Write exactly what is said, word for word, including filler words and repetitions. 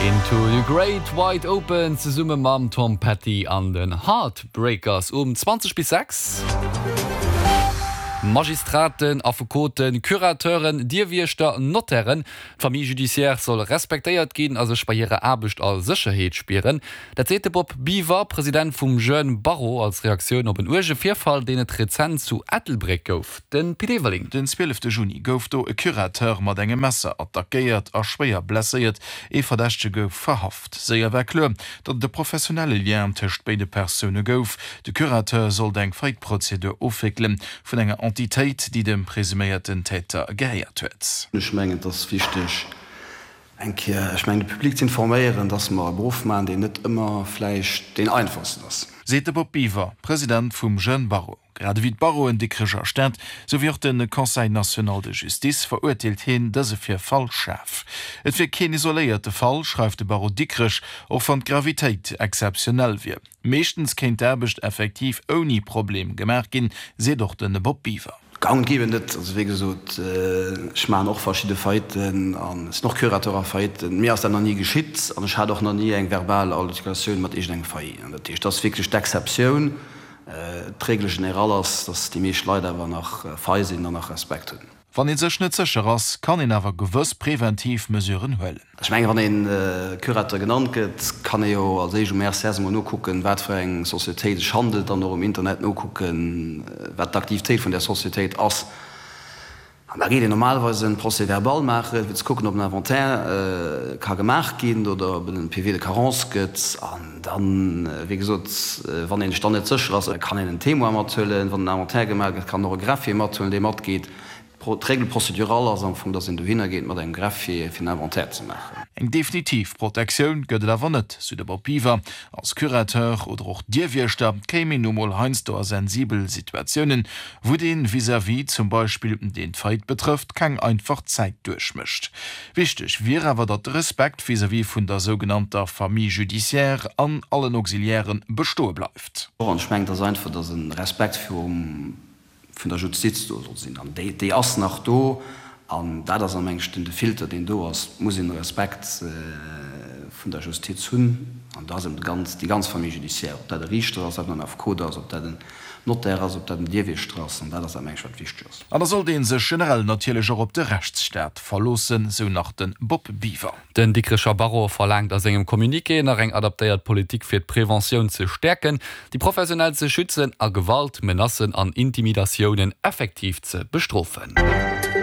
Into the Great Wide Open zesumme mam Tom Petty an den Heartbreakers um zwanzeg bis sechs. Magistraten, Affekoten, Curateuren, Dierwiechter, Notairen, d'Famille judiciaire soll respektéiert ginn a sech bei hirer Aarbecht a Sécherheet spieren. Dat seet de Bob Biver, President vum Jeune Barreau, als Reaktioun op en uerge Virfall, deen et rezent zu Ettelbréck gouf. De Pit Everling. Den zwielefte Juni gouf do e Curateur mat engem Messer attackéiert a schwéier blesséiert. Ee Verdächtege gouf verhaft. Séier war kloer, datt et e professionelle Lien tëscht béide Persoune gouf. De Curateur sollt eng Faillite-Prozedur ofwéckelen vun enger Entitéit, déi dem presuméierten Täter gehéiert huet. Ech mengen, et ass wichteg, eng Kéier, ech mengen, de Public ze informéieren, dass mer e Beruff maachen, deen net ëmmer vläicht deen einfachsten ass. Seet de Bob Biver, President vum Jeune Barreau. Grad ewéi d'Barreauen Dikrech a Stad, sou wéi och de Conseil national de justice verurteelt hien dëse Virfall schaarf. Et wier keen isoléierte Fall, schreift de Barreau Dikrech, och wann d'Gravitéit exzeptionell wier. Meeschtens kéint d'Aarbecht effektiv ouni Problem gemaach ginn, seet och de Bob Biver. Gang ginn et net. Also wéi gesot, ech maachen och verschidde Failliten an sinn och Curateur a Failliten. Mir ass dat nach ni geschitt an ech hat och nach ni eng verbal Altercatioun mat iergendengem Failli. Dat heescht, dat ass wierklech d'Exceptioun. D'Règle générale ass, dass déi meescht Leit awer nach fei sinn an nach Respekt hunn. Wann ee sech net sécher ass, kann een awer gewëss preventiv Mesuren huelen. Ech mengen, wann ee Curateur genannt gëtt, kann ee jo als éischt um R C S emol nokucken, wat fir eng Societéit sech handelt, dann och um Internet nokucken, wat d'Aktivitéit vun där Societéit ass. An da geet een normalerweis en Procès-verbal maachen, fir ze kucken, ob en Inventaire ka gemaach ginn oder ob et en P V de carence gëtt. An dann, wéi gesot, wann een sech dann net sécher ass, kann een en Témoin mathuelen. Wann en Inventaire gemaach gëtt, kann och e Greffier mathuelen, dee matgeet. D'Règle procédurale ass am Fong, dass een dohinner geet mat engem Greffier, fir en Inventaire ze maachen. Eng definitiv Protektioun gëtt et awer net, sou de Bob Biver. Als Curateur oder och Dierwiechter kéim een nu mol heiansdo a sensibel Situatiounen, wou dee Vis-à-vis zum Beispill, deen d'Faillite betrëfft, keng einfach Zäit duerchmécht. Wichteg wier awer, datt de Respekt vis-à-vis vun der sougenannter Famille judiciaire an allen Auxiliairen bestoe bleift. An ech mengen, et ass einfach, dass e Respekt virum vun der Justiz do soll sinn, an déi, déi ass nach do, an dat ass am engschten de Filter, deen do ass. Et muss een Respekt vun der Justiz hunn, an do ass eben ganz, déi ganz Famille judiciaire, ob dat e Riichter ass, ob dat en Affekot ass, ob dat en Notaire ass, ob dat en Dierwiechter ass, an dat ass am engscht, wat wichteg ass. An da sollt ee sech generell natierlech och op de Rechtsstaat verloossen, sou nach de Bob Biver. Den Dikrecher Barreau verlaangt a sengem Communiqué nach eng adaptéiert Politik fir d'Preventioun ze stäerken, déi Professionell ze schützen a Gewalt, Menacen an Intimidatiounen effektiv ze bestrofen.